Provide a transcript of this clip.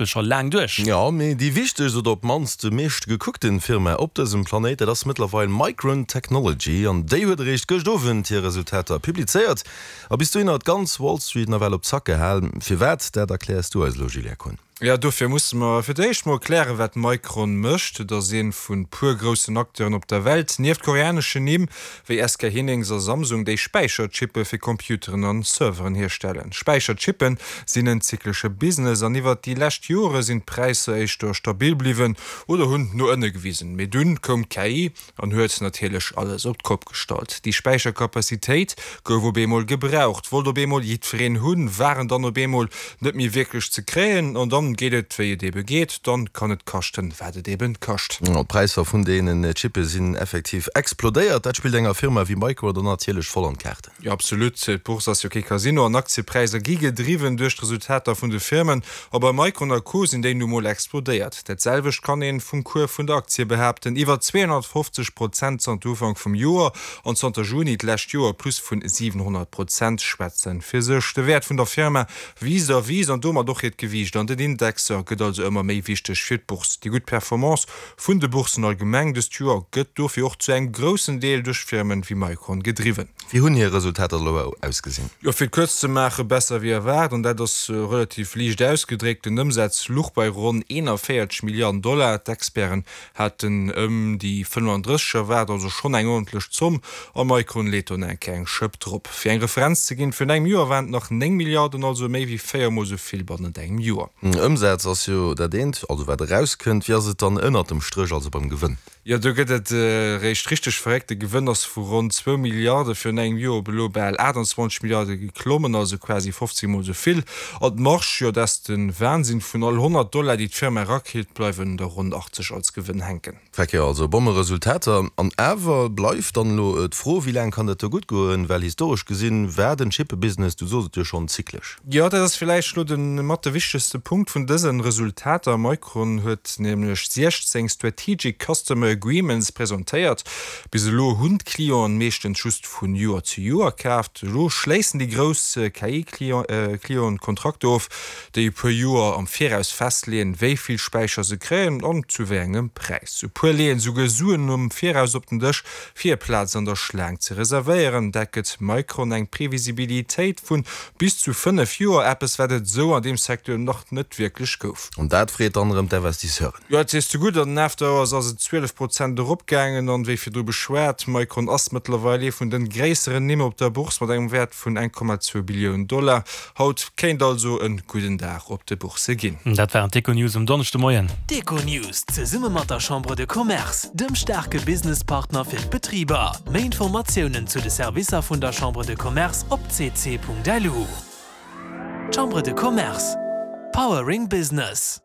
Scho laang duerch. Jo, mee déi wichtegst oder op d'mannst meescht gekuckten Firma op dësem Planéit, dat ass mëttlerweil Micron Technology an déi huet eréischt gëscht Owend hir Resultater publizéiert a bis dohinner d'ganz Wall Street nawell op Zack gehal. Firwat, dat erkläers du eis elo, Julien Kohn. Jo, dofir musse mer fir d'éischt mol klären, wat Micron mécht. Et ass ee vun puer groussen Acteuren op der Welt, nieft koreaneschen Nimm wéi SK Hynix a Samsung, déi Späicherchippe fir Computeren an Serveren hierstellen. Späicherchippen sinn en zyklesche Business an iwwert déi lescht Jore sinn d'Präisser éischter stabil bliwwen oder hunn no ënne gewisen. Mee dunn koum d'KI an huet natierlech alles op d'Kopp gestallt. Déi Späicherkapazitéit gouf op eemol gebraucht, wollt op eemol jiddwereen hunn, waren dann op eemol net méi wierklech ze kréien an dann geet et wéi et ebe geet, dann kann et kaschten wat et eben kascht. D'Präisser vun deenen Chippe sinn effektiv explodéiert. Dat spillt enger Firma wéi Micron dann natierlech voll an d'Kaarten. Jo absolut, d'Bourse ass jo kee Casino an Aktiepräisser gi gedriwwen duerch d'Resultater vun de Firmen a bei Micron a Co sinn déi nu mol explodéiert. Dat selwecht kann een vum Cours vun der Aktie behaapten, iwwer 250 Prozent zanter Ufank vum Joer an zanter Juni d'lescht Joer Plus vun 700 Prozent schwätzen fir sech. De Wäert vun der Firma wiisst a wiisst an domat och hiert Gewiicht an den Indexer gëtt also ëmmer méi wichteg fir d'Bourse. Déi gutt Performance Vun de Boursen allgemeng dëst Joer gëtt dofir och zu engem groussen Deel duerch Firmen wéi Micron gedriwwen. Wéi hunn hir Resultater elo ausgesinn? Jo, fir et kuerz ze maachen, besser wéi erwaart, an dat ass relativ liicht ausgedréckt. Den Ëmsaz luch bei ronn 41 Milliarden Dollar, d'Experten haten ëm déi 35 erwaart, also schonn eng ordentlech Zomm, a Micron leet do nach eng Kéier eng Schëpp drop. Fir eng Referenz ze ginn, Virun engem Joer waren et nach 9 Milliarden, also méi wéi 4 mol esou vill bannent engem Joer. Ëmsaz ass jo dat eent, also wat erauskënnt. Wéi ass et dann ënnert dem Stréch, also beim Gewënn? Jo, do gëtt et eréischt richteg verréckt. De Gewënn ass vu ronn zwou Milliarde virun engem Joer op elo bal 28 Milliarde geklommen, also quasi 15 mol esou vill. An d'Marge, jo, dat ass de Wahnsinn, Vun all 100 Dollar, déi d'Firma erakritt, bleiwen der ronn 80 als Gewënn hänken. Feck jo, also Bommeresultater. An awer bleift dann elo d'Fro, wéi laang kann dat do gutt goen? Well historesch gesinn war den Chippebusiness, du sos et jo schonn, zyklesch. Jo, dat ass villäicht elo de mat de wichtegste Punkt vun dësen Resultater. Micron huet nämlech 16 Strategic Customer Agreements presentéiert. Bis elo hunn d'Clienten meeschtens just vun Joer zu Joer kaaft. Elo schléissen déi grouss KI-Clienten Kontrakter of, déi e puer Joer am Viraus festleeën, wéi vill Späicher se kréien an zu wéi engem Präis. E puer leeën esouguer Suen am Viraus op den Dësch, fir hir Plaz an der Schlaang ze reservéieren. Dat gëtt Micron eng Previsibilitéit vu bis zu 5 Joer, eppes wat et esou an deem Secteur nach net wierklech gouf. An dat freet dann erëm d'Investisseuren. Jo, et sees de gutt. An den After Hours ass et 12 Prozent eropgaangen. An wéi virdru beschwat, Micron ass mëttlerweil ee vun de gréisseren Nimm op der Bourse mat engem Wäert vun 1,2 Billioun Dollar. Haut kéint also en gudden Dag op de Bourse ginn. Dat waren d'Econews um Donneschdemoien. D'Econews zesumme mat der Chambre de Commerce, dem staarke Businesspartner fir d'Betriber. Méi Informatiounen zu de Servicer vun der Chambre de Commerce op cc.lu. Chambre de Commerce, Powering Business.